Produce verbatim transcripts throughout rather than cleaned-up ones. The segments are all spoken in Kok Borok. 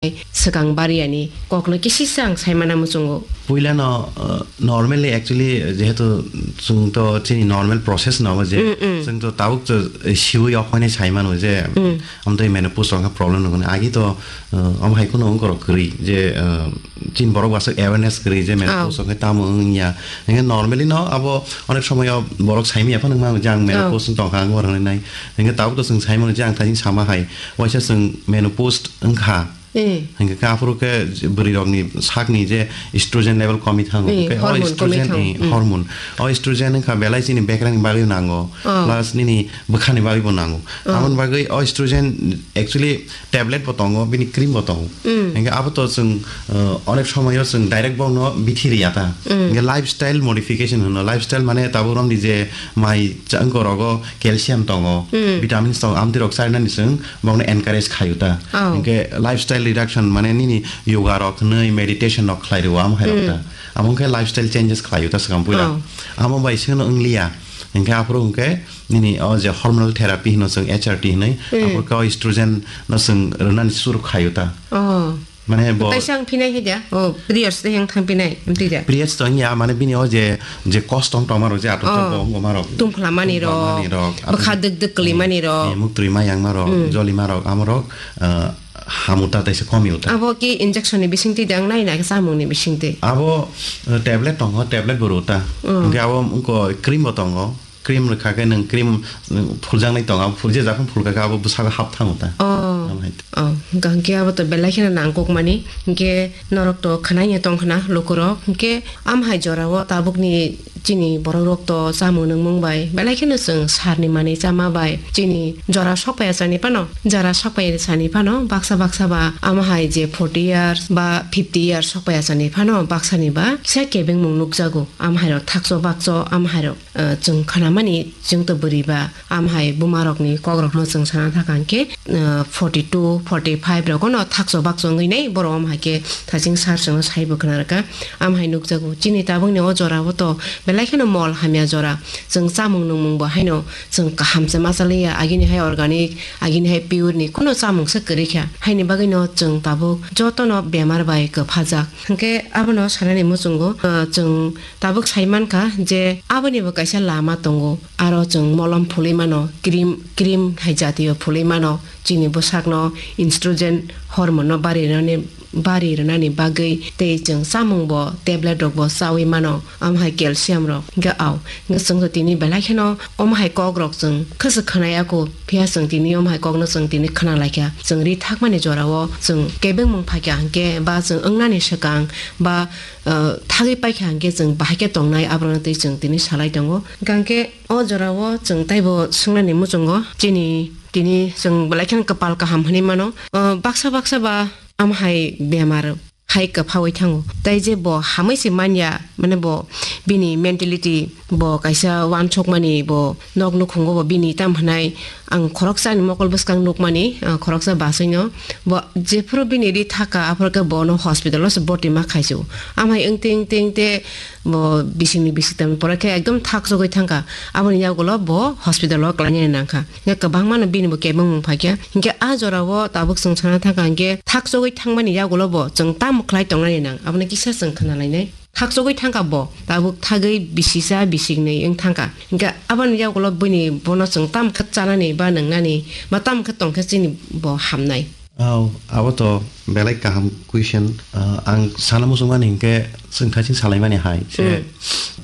swkang bariyani kokno kisisa ang saimana muchungo. Puilano, uh, normally actually jehetu chwng to chini normal process no je, mm, mm, chwng to tabuk to siwi okhone saimano je, mm, amtwi menopause rok problem no agi to, uh, am hai kuno ongkoro kwrwi je, uh, chini borok wasuk awareness kwrwi je menopause, oh, rok tamo wngya. Hingke normally no abo onek somoyo borok saimaya phano wngma jang, oh, menopause tongkha ang oro nai. Hingke tabuk to chwng saimano je ang thani sama hai waisa chwng menopause wngkha. Eh. Hingke khe aphuru khe bwrwi rokni sakni je estrogen level komi thango. Eh, hingke o hormone komi estrogen, thango. Eh, hmm, hormone. O estrogen wngkha belai chini bekrani bagwi nango. Oh. Plus nini bwkhani bagwi bo nango. Oh. Aboni bagwi o estrogen actually tablet bo tongo, bini cream bo tongo. Hmm. Hingke abo to chwng, uh, onek somoyo chwng direct bokno bithi riya ta. Hmm. Hingke lifestyle modification hwno. Lifestyle mane tabuk romdi je mai changko rogo calcium tongo, hmm, vitamins tongo, amtwi rok chainani chwng bokno encourage khayu ta. Oh. Hingke lifestyle reduction mane nini yoga rok hwnwi meditation rok khlai rwo amo hai rok ta. Hmm. Amo hwnkhe lifestyle changes khlayu ta swkang puila. Oh. Amo bai seno wngliya. Hingke aphuru hingke nini o je hormonal therapy hino chwng H R T hinwi, hmm, aphuru khe o estrogen no chwng rwnani suru khayu ta. Oh. Mane bo taisa ang phinai hai da? Oh, periods tei ang thang phinai, amtwi da? Periods to wngya, mane bini o je, je kosto wng tongma rok je atok, oh, bo wngma rok. Tungphla mani rok, tungphla mani rok, bwkha dwk dwk kwlwi mani rok. Eh, muktwi ma yang ma rok, hmm, joli ma rok, amo rok, eh, hamu ta taisa komi uta. Abo ki injection ni bising twi da, ang nai na khe chamung ni bising twi? Abo, eh, tablet tongo, tablet bo rw ta. Hmm. Hingke abo wngko cream bo tongo. Cream rwkha khe nwng cream, nwng phuljaknai tongo, abo phul-, je japhang phulkha khe abo bwsago hap thango ta. Oh. Amo hai. Oh, hwnkha hwnkhe abo to belai kheno nangkukmani. Hwnkhe norok to khwnaino tong khna lukurok. Hwnkhe am hai jorao tabukni chini borokrok to chamung nungmung bai belai kheno chwng sarni manwi chama bai chini jora sokpaiya sani phano, jora sokpaiya sani phano baksa baksa ba am hai je forty years ba fifty years sokpaiya sani phano baksani ba kisa kebengmung nukjago. Am hairok thakcho bakcho am hairok. Ah, chwng khnamani, chwng to bwrwi ba, am hai buma rokni kok rokno chwng sana thaka hwnkhe, ah, forty two, forty five rogono thakcho bakcho wngwi nai borok, am hai khe thaching sar chwngno saibo khna rwkha. Am hai nukjago, chini tabukni o jorao to belai kheno mol hamya jora. Chwng chamung nungmung bo haino chwng kaham se ma chaliya, agini hai organic, agini hai pure ni kuno chamung se kwrwi kha. Haini bagwino chwng tabuk jotono bemar bai kwphajak. Hwnkhe abono sanani muchungo, ah, chwng tabuk sai mankha je aboni bo kaisa lama tongo, aro chwng molom phulwi mano, cream, cream hai jatiyo phulwi mano, chini bwsakno estrogen hormone no bari rwnani, bari rwnani bagwi, tei chwng chamung bo tablet rok bo chaui mano, omo hai calcium rok. Hwnkhe ao, hwnkhe chwng tini belai kheno omo hai kok rok chwng khwswk khwnaya kho, phiya chwng tini omo hai kokno chwng tini khwna laikha. Chwng ri thakmani jorao chwng kebengmung phaikha hwnkhe ba chwng wngnani swkang ba ah, thagwi paikha hwnkhe chwng bahai khe tongnai, aborokno twi chwng tini salai tongo. Hwnkhe o jorao chwng taibo swngnani muchungo chini tini chwng belai kheno kwpal kaham hwnwi mano. Ah, baksa baksa ba am hai bemar hai kwphaui thango. Tai je bo hamwi se manya, mane bo bini mentality bo kaisa uansukmani bo nok nukhungo bo bini tam hwnai. Ang khoroksa ni mokol bwskang nukmani, ah, khoroksa bachai no. Bo jephuru bini ri thaka, aphuru khe bono hospital o se boti ma khaisio. Amhai wngte, wngte, wngte bo bisingni bisingtwi pore khe ekdom thakjagwi thangkha. Aboni yagulo bo hospital o klainani nangkha. Hingkhe kwbangma no bini bo kebengmung phaikha. Hingkhe a jorao tabuk chwng sana thangkha hingkhe thakjagwi thangmani yagulo bo chwng tamo khlai tongnani nang? Abono kisa chwng khna lainai. Thakjagwi thangkha bo, tabuk thagwi bisisa bisiknwi wng thangkha. Hingkhe aboni yagulo bini bono chwng tamo khe chanani ba nwngnani ba tamo khe tongkhe chini bo hamnai. Au, abo to belai kaham question. Ah, ang sana muchungmani hingkhe chwng thaiching salaimani hai se, hmm,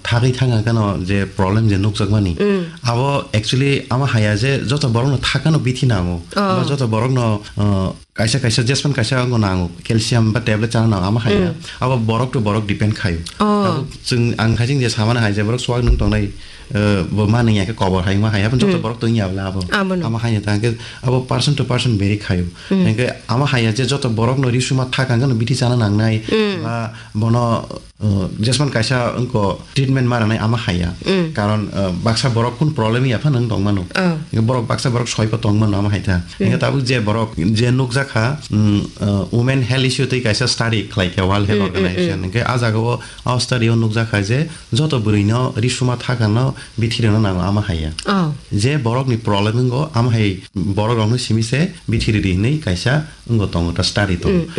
thagwi thangkha kheno je problem je nukjakmani. Hmm. Abo actually ama haya je joto borokno thakkano bithi nango. Oh. Ba joto borokno, ah, kaisa kaisa jespan kaisa wngkha nango, calcium ba tablet chana nango, ama hai ya. Mm. Abo borok to borok depend khayo. Oh. Tabuk chwng ang khaising je samana hai je borok swak nung tongnai, eh, bo ma nung ya khe kobor hai ma hai, abo joto, mm, borok to wngya bla abo. Abono. Ama hai ya ta hwnkhe abo person to person vary khayo. Mm. Hwnkhe ama hai ya je joto borok no risuma thak ang no bithi chana nangnai, mm, ba bono, uh, jesman kaisa wngko treatment ma rwnai ama haya. Mm. Karon, uh, baksa borok kun problem ya phano wng tongmano. Oh. Borok baksa borok soi po tongmano ama haitha. Mm. Hingke tabuk je borok je nukjakha, mm, uh, women health issue tei kaisa study khlai kha World Health, mm, mm, Organization. Mm. Hingke a jaga o, a study o nukjakha je joto bwrwi no risuma thaka no bithi rwna nango ama haya. Oh. Je borok ni problem wngo ama hai borok rok no simi se bithi ridi hinui kaisa wngbo tongo ta study Mm, mm.